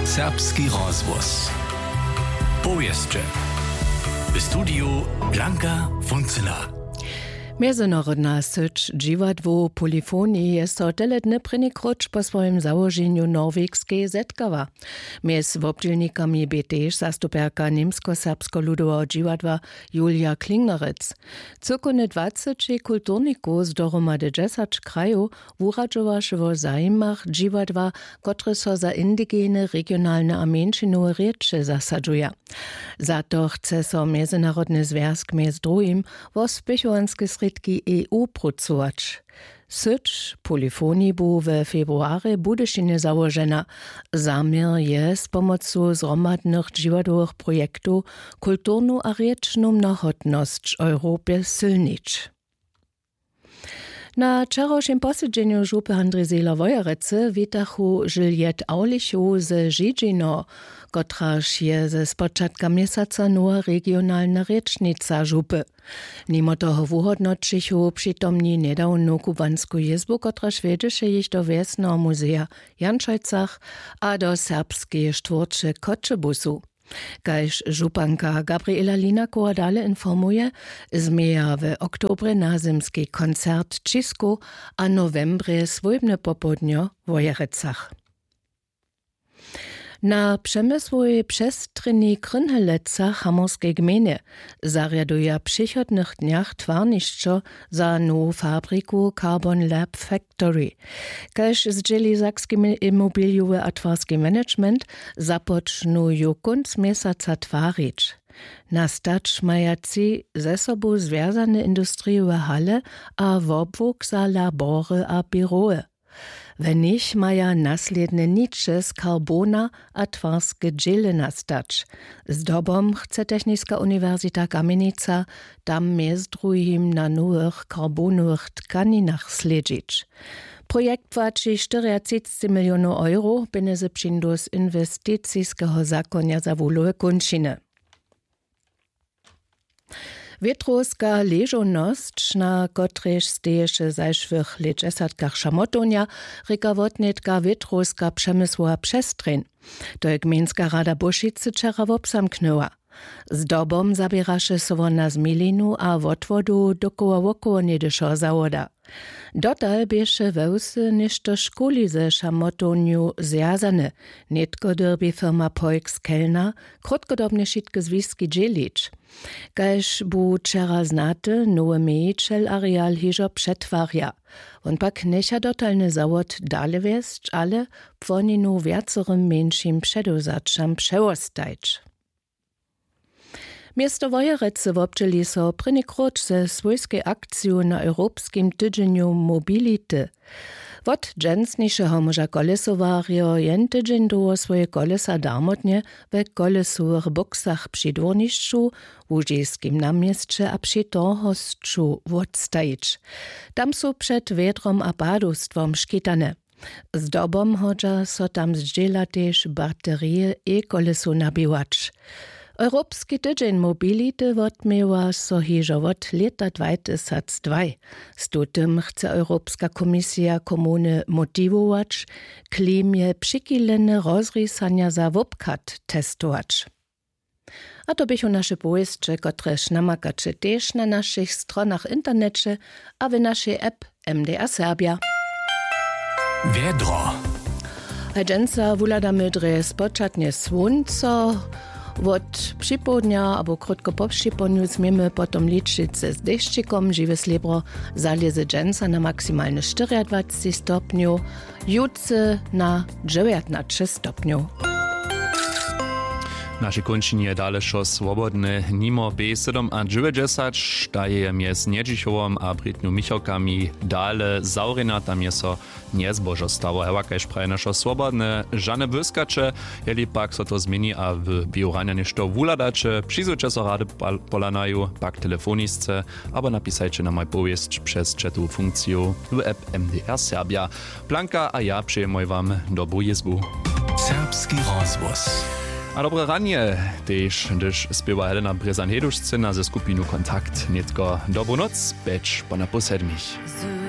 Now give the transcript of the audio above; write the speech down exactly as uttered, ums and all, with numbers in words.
Serbski rozhłos. Powěsće. W studiju Blanka Funcyna. Mjezynarodna syć dźiwadłow Polyfonii je so tele dny prěni króć po swojim załoženju w Norwegskej zetkała. Mjez wobdźělnikami bě tež zastupjerka Němskoserbskeho ludoweho dźiwadła Julia Klingerec. Cyłkownje dwaceći kulturnikow z dohromady dźesać krajow wuradźowaše wo zajimach dźiwadła, kotrež so za indigene, regionalne a mjeńšinowe rěče zasadźuja. Za to chce so Mjezynarodny zwjazk mjez druhim wo spěchowanske srědki E U prócować. Syć Polyfonii bu we februarje w Budyšinje załožena. Zaměr je, z pomocu zhromadnych dźiwadłowych projektow kulturnu a rěčnu mnohotnosć w Europje sylnić. Na wčerawšim posedźenju župy Handrij Zehler Wojerecy witachu Juliette Aulichow ze Židźino, kotraž je ze spočatka měsaca nowa regionalna rěčnica župy. Nimo toho wuhódnoćichu přitomni njedawnu kubłansku jězbu, kotraž wjedźeše jich do wjesneho muzeja w Janšojcach a do serbskeje štwórće w Choćebuzu. Kaž županka Gabriela Linakowa dale informuje, změja w oktobrje nazymski koncert w Ćisku a nowembrje swójbne popołdnjo w Wojerecach. Na přemysłowej přestrjenji w Krynhelecach w Hamorskeje gmejnje zarjaduja w přichodnych dnjach twarnišćo za nowu fabriku Carbon Lab Factory. Kaž zdźěli sakski imobilijowy a twarski management, započnu ju kónc měsaca twarić. Nastać maja tři ze sobu zwjazane industrijowe hale a wobłuk za labory a běrowy. W nich maja naslědne niče z karbona a twarske dźěle nastać. Zdobom chce Techniska uniwersita Kamjenica tam mjez druhim na nowych karbonowych tkaninach slědźić. Projekt płaći štyriatřicci milionow euro, pjenjezy přińdu z inwesticiskeho zakonja za wuhlowe kónčiny. Wětrowska ležownosć, na kotrejž steješe w zašłych lětdźesatkach šamotownja, rěka wotnětka wětrowska přemysłowa přestrjeń. To je gmejnska rada Bóšicy wčera wobzamknyła. Zdobom zaběraše so wona z milinu a wotwodu dokoła wokoło něhdyšeho zawoda. Dotal běše we wsy něšto škuli ze šamotownju zwjazane. Nětko dyrbi firma Poix Kellner krótkodobnje wšitke zwiski dźělić. Kaž bu wčera znaty, nowy mějićel areal hižo přetwarja. Wón pak njecha dotalny zawod dale wjesć, ale płoninu wjacorym mjeńšim předewzaćam přewostajić. Město Wojerecy wobdźěli so prěni króć ze swójskej akciju na Europskim tydźenju mobility. Wot dźensnišeho móža kolesowarjo jen tydźeń dołho swoje kolesa darmotnje we kolesowych bóksach při dwórnišću, łužiskim na měsće a při torhosću wotstajić. Tam su před wjedrom a padowstwom škitane. Zdobom hodźa so tam zdźěla tež baterije e-kolesow nabiwać. Europski tydźeń mobility wotměła so hižo wot lěta dwatysacdwaj. Z tutym chce Europska komisija komuny motiwować, klimje přichilene rozrisanja za wobchad testować. A to běchu naše powěsće, kotrež namakaće tež na našich stronach w interneće a w našej app M D R Serbja. Wjedro. A dźensa wuhladamy drje spočatnje słónco. Wot připołdnja abo krótko po připołdnju změmy potom ličić z dešćikom. Žiwe slěbro zalěze dźensa na maksimalne štyriadwacci stopnjow, jutře na dźewjatnaće stopnjow. W našej kónčinje je dale wšo swobodne. Nimo B sydomadźewjećdźesat, ta je mjez Njedźichowom a Brětnju Michałkami dale zawrjena, tam je so njezbožo stało. Hewa, kaž praje našo swobodne, žane błyskaće, jeli pak so to změni a w běhu ranja něšto wuhladaće, přizwójće so rady pal-, polanaju, pak telefonisce abo napisajće nam aj powěsć přez chatowu funkciju w app M D R Serbja. Blanka a ja přejemoj wam dobru jězbu. Serbski rozhłos. A dobre ranje tež, hdyž spěwa Helena Brězan-Heduš, scena ze skupinu Kontakt. Nětko dobru noc, pjeć po na pół sedmich.